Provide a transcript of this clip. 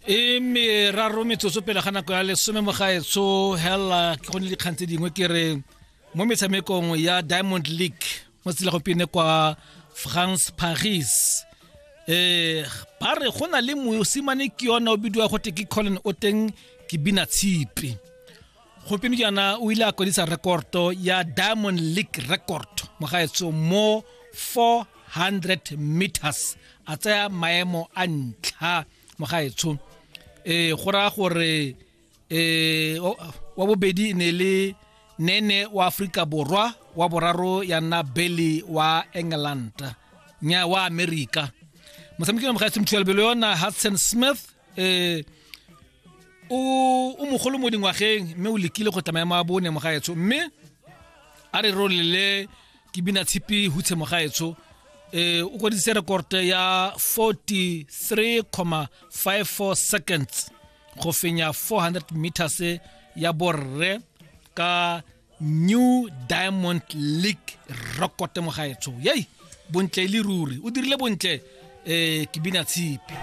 E meraro metsotso pele ga nako ya lesome, mogaetsho. Hela ke gone dikgang tse dingwe ke re mo metshamekong ya Diamond League mo tsela gompieno kwa France, Paris, ba re go na le mosimane ke yona o bidiwa gote ke Colin, o teng ke bina tshipi. Gompieno jaana o ile a kwadisa rekorto ya Diamond League record, mogaetsho, mo 400 meters, a tsaya maemo a ntlha, mogaetsho. Go raya gore wa bobedi e ne le Nene wa Aforika Borwa, wa boraro ya nna Belly wa England, nya wa America. Motshameki wa, mogaetsho, mothualebelo yona Hudson Smith, o mogolo mo dingwageng, mme o lekile go tla maemo a bone, mogaetsho. Mme a re rolele ke bina tshipi hutshe, mogaetsho, o kwadisitse rekorte ya 43,54 seconds go fenya 400 meters ya borre ka new Diamond League record, mogaetsho. Yei, bontle e le ruri, o dirile bontle, ke bina tshipi.